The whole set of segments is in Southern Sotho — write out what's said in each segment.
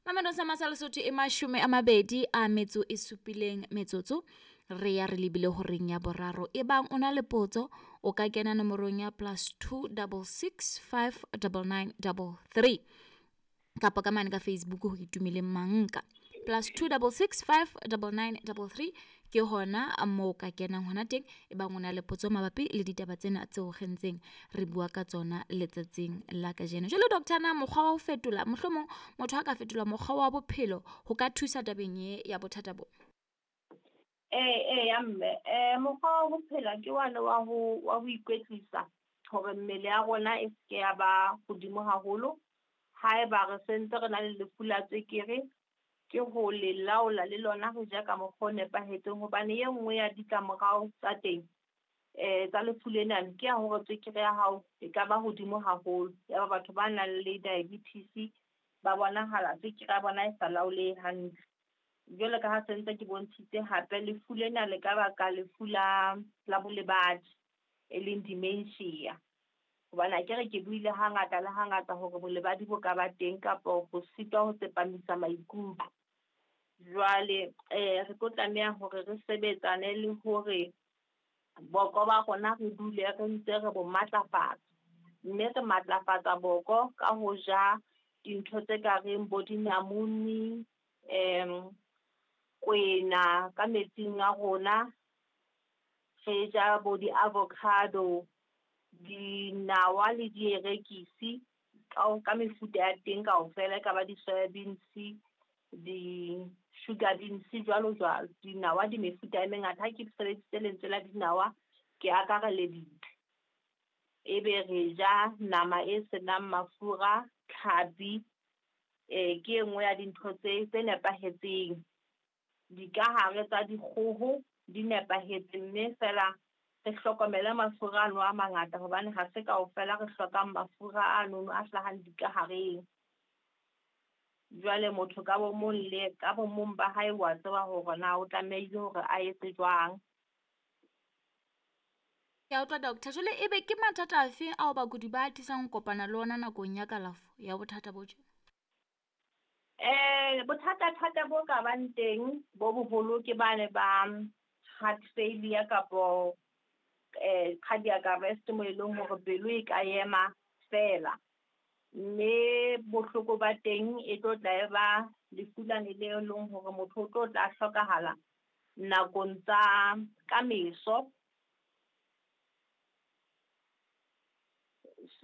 Mamelong sa Masa Lesotho e 27 metsotso re ya re lebile horeng ya boraro. Ebang o na le potso o ka kena nomorong ya +266 599 33 kapa ka mane ka Facebook ho Itumeleng Manka. +266 599 33 ke hona moo ka kenang hona teng e bang o na le potso mabapi le ditaba tsena tseo re ntseng re bua ka tsona letsatsing la kajeno. Jwale doctor, na mokgwa wa ho fetola, mohlomong motho a ka fetola mokgwa wa bophelo ho ka thusa tabeng ye ya bothata bo? Ee ya mme, mokgwa wa ho phela ke wane wa ho ikwetlisa hore mmele ya rona e seke ya ba hodimo haholo. Haeba re sentse re na le lefu la tswekere, ke ho le laola le lona re ja ka mokgwa o nepahetseng, hobane e nngwe ya ditlamorao tsa teng tsa lefu lena ke ya hore tswekere ya hao e ka ba hodimo haholo. Ya ba batho ba nang le diabetes ba bonahala tswekere ya bona e sa laolehe hantle. Jwalo ka ha sentse ke bontshitse hape, lefu lena le ka baka lefu la bolebadi e leng dementia. Hobane akere ke buile hangata le hangata hore bolebadi bo ka ba teng kapa ho sitwa ho tsepamisa maikutlo. Jwale re tlo tlameha hore re sebetsane le hore boko ba rona re dule re ntse re bo matlafatsa. Mme re matlafatsa boko ka ho ja dintho tse ka reng bo dinamune, kwena ka metsing a rona, re ja bo di-avocado, dinawa le dierekisi ka mefuta ya teng kaofela, e ka ba di-soya beans, di-sugar beans, jwalo jwalo. Dinawa di mefuta e mengata. Ha ke sebedisitse lentswe la dinawa ke akareleditse. Ebe re ja nama e senang mafura, tlhapi, ke e nngwe ya dintho tse nepahetseng. Dikahare tsa dikgoho di nepahetse, mme fela re hlokomele mafura ano a mangata, hobane ha se kaofela re hlokang mafura ano a hlahang dikahareng. Jwale motho ka bo mong le ka bo mong ba hae wa tseba hore na o tlamehile hore a etse jwang. Ke a utlwa doctor. Jwale ebe ke mathata afe ao bakudi ba atisang ho kopana le ona nakong ya kalafo ya bothata bo tjena? Bothata-thata bo ka bang teng bo boholo ke bane ba heart failure kapo cardiac arrest, mo e leng hore pelo e ka ema fela. Mme bohloko ba teng e tlo tla e ba lefu lane le leng hore motho o tlo tla hlokahala nakong tsa ka meso.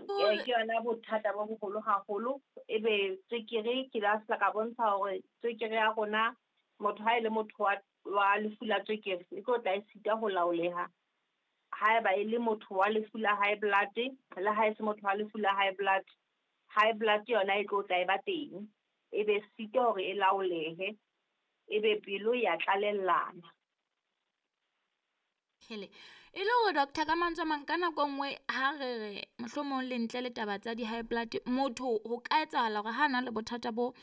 Ke yona bothata bo boholo haholo. Ebe tswekere, ke la se ka bontsha hore tswekere ya rona, motho ha e le motho wa lefu la tswekere e tlo tla e sita ho laoleha. Haeba e le motho wa lefu la high blood, le ha e se motho wa lefu la high blood, high blood yona e tlo tla e ba teng, ebe sita hore e laolehe, ebe pelo ya tlalellana. Hele, e le hore doctor ka mantswe a mang ka nako nngwe ha re re mohlomong le ntle le taba tsa di-high blood, motho ho ka etsahala hore ha na le bothata bo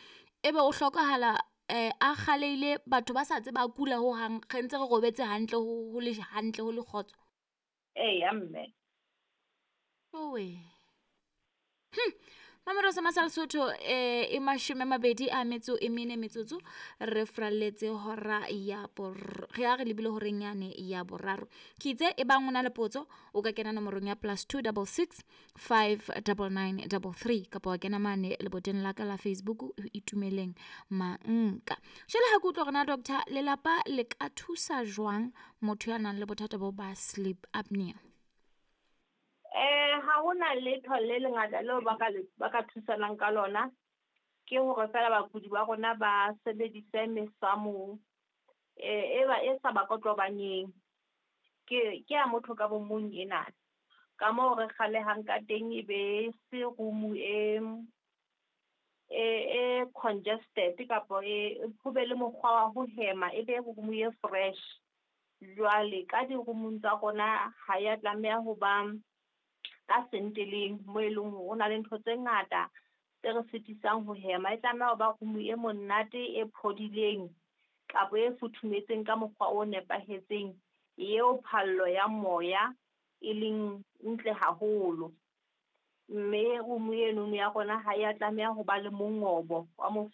ebe o hlokahala a kgaleile, batho ba sa tseba a kula ho hang, re ntse re robetse hantle, ho le hantle, ho le kgotso. Eya mme. Owe. Mamelodi sa Masa Lesotho e 24 metsotso re fralletse hora ya re a re lebile horeng yane ya boraro. Ke itse e bang o na le potso o ka kena nomorong ya +266 599 33 kapa wa kena mane leboteng la ka la Facebook Itumeleng Manka. Jwale ha ke utlwa hore na doctor lelapa le ka thusa jwang motho ya nang le bothata bo ba sleep apnea? Ha hona letho le lengata leo ba ka thusanang ka lona, ke hore fela bakudi ba rona ba sebedise mesamo e ba e sa ba kotlobanyeng. Ke ya motho ka bo mong ena. Ka moo re kgalehang ka teng e be se room e congested kapa e ho be le mokgwa wa ho hema, e be room e fresh. Jwale ka di-room-ong tsa rona ha ya tlameha ho ba ka senteleng mo e leng hore ho na le ntho tse ngata tse re sitisang ho hema. E tlameha ho ba room e monate, e phodileng kapa e futhumetseng ka mokgwa o nepahetseng, eo phallo ya moya e leng ntle haholo. Mme room eno ya rona ha ya tlameha ho ba le mongobo wa